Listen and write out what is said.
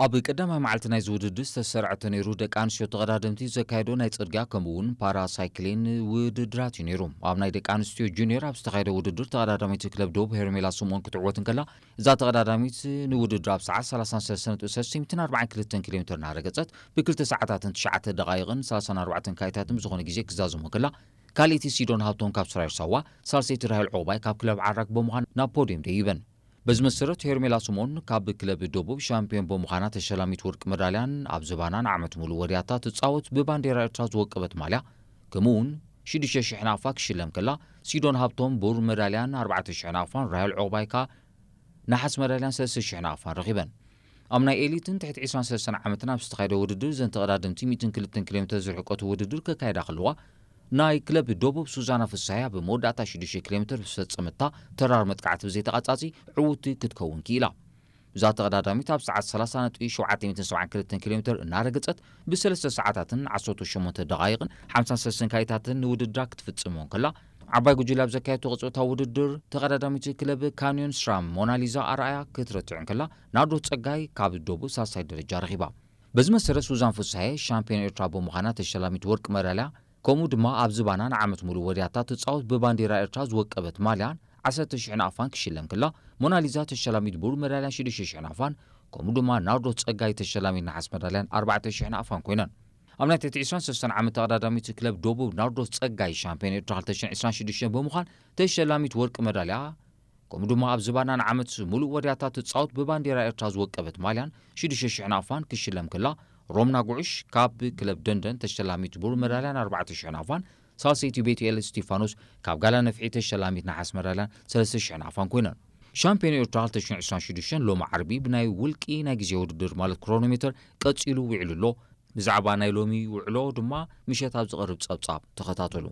ኣብ ቀዳማይ መዓልቲ ናይዚ ውድድር ዝተሰርዐ ተነይሩ ደቂ ኣንስትዮ ተቐዳደምቲ ዘካየዶ ናይ ጽርግያ ከምኡ እውን ፓራሳይክሊን ውድድራት እዩ ነይሩ። ኣብ ናይ ደቂ ኣንስትዮ ጁኒየር ኣብ ዝተኻየደ ውድድር ተቐዳዳሚት ክለብ ዶብ ሄርሜላ ስምኦን ክትዕወት እንከላ፣ እዛ ተቐዳዳሚት ንውድድር ኣብ ሰዓት ሰላሳን ሰለስተን ነጥቢ ሰለስተ ሚእትን ኣርባዓን ክልተን ኪሎ ሜትር እናረገጸት ብክልተ ሰዓታትን ትሽዓተ ደቓይቕን ሰላሳን ኣርባዕተን ካይታትን ብዝኾነ ግዜ ክዛዘሞ ከላ፣ ካልኣይቲ ሲዶን ሃብቶም ካብ ሰራዊት ሳዋ፣ ሳልሰይቲ ራሄል ዑቕባይ ካብ ክለብ ዓራግ ብምዃን ናብ ፖድየም ደይበን። በዚ መሰረት ሄርሜላ ስምኦን ካብ ክለብ ደቡብ ሻምፒዮን ብምዃና ተሸላሚት ወርቂ መዳልያን ኣብ ዝባና ንዓመት ሙሉእ ወድያታ ትጻወት ብባንዴራ ኤርትራ ዝወቀበት ማልያ ከምኡ እውን ሽዱሽተ ሽሕ ናቕፋ ክሽለም ከላ፣ ሲዶን ሃብቶም ብሩር መዳልያን ኣርባዕተ ሽሕ ናቕፋን ራሄል ዑቕባይ ከኣ ነሓስ መዳልያን ሰለስተ ሽሕ ናቕፋን ረኺበን። ኣብ ናይ ኤሊትን ትሕቲ ዕስራን ሰለስተን ዓመትን ኣብ ዝተኻየደ ውድድር እዘን ተቐዳደምቲ ሚእትን ክልተን ኪሎ ሜትር ዝርሕቀቱ ውድድር ከካየዳ ከለዋ፣ ናይ ክለብ ደቡብ ሱዛና ፍስሃያ ኣብ መወዳእታ ሽዱሽተ ኪሎ ሜትር ብዝፈጸመታ ተራር መጥቃዕቲ ብዘይተቓጻጺ ዕውቲ ክትከውን ክኢላ። እዛ ተቐዳዳሚት ኣብ ሰዓት ሰላሳ ነጥቢ ሸውዓተ ሚእትን ሰብዓን ክልተን ኪሎ ሜትር እናረገጸት ብሰለስተ ሰዓታትን ዓሰርተ ሸሞንተ ደቓይቕን ሓምሳን ሰለስተን ካይታትን ንውድድራ ክትፍጽም ከላ፣ ዓባይ ጉጅለ ኣብ ዘካየደቶ ቅጽበታዊ ውድድር ተቐዳዳሚት ክለብ ካንዮን ስራም ሞናሊዛ ኣርኣያ ክትረትዕ እንከላ፣ ናርዶስ ጸጋይ ካብ ደቡብ ሳልሳይ ደረጃ ረኺባ። በዚ መሰረት ሱዛን ፍስሃየ ሻምፒዮን ኤርትራ ብምዃና ተሸላሚት ወርቂ መዳልያ፣ ከምኡ ድማ ኣብ ዝባና ንዓመት ሙሉእ ወድያታ ትጻወት ብባንዴራ ኤርትራ ዝወቀበት ማልያን ዓሰርተ ሽሕ ናቕፋን ክሽለም ከላ፣ ሞናሊዛ ተሸላሚት ብሩር መዳልያን ሽዱሽተ ሽሕ ናቕፋን፣ ከምኡ ድማ ናርዶስ ጸጋይ ተሸላሚት ነሓስ መዳልያን ኣርባዕተ ሽሕ ናቕፋን ኮይነን። ኣብ ናይ ትሕቲ ዕስራን ሰለስተን ዓመት ተቐዳዳሚት ክለብ ደቡብ ናርዶስ ጸጋይ ሻምፒዮን ኤርትራ ክልተ ሽሕን ዕስራን ሽዱሽተን ብምዃን ተሸላሚት ወርቂ መዳልያ፣ ከምኡ ድማ ኣብ ዝባና ንዓመት ሙሉእ ወድያታ ትጻወት ብባንዴራ ኤርትራ ዝወቀበት ማልያን ሽዱሽተ ሽሕ ናቕፋን ክሽለም ከላ፣ ሮምና ጉዑሽ ካብ ክለብ ደንደን ተሸላሚት ብሩር መዳልያን ኣርባዕተ ሽሕ ናቕፋን፣ ሳልሰይቲ ቤትኤል እስቲፋኖስ ካብ ጋላ ነፍሒ ተሸላሚት ነሓስ መዳልያን ሰለስተ ሽሕ ናቕፋን ኮይነን። ሻምፒዮን ኤርትራ ክልተ ሽሕን ዕስራን ሽዱሽተን ሎሚ ዓርቢ ብናይ ውልቂ ናይ ግዜ ውድድር ማለት ክሮኖሜተር ቀጺሉ ውዒሉ ኣሎ። ብዛዕባ ናይ ሎሚ ውዕሎ ድማ ምሸት ኣብ ዝቐርብ ጸብጻብ ተኸታተሉ።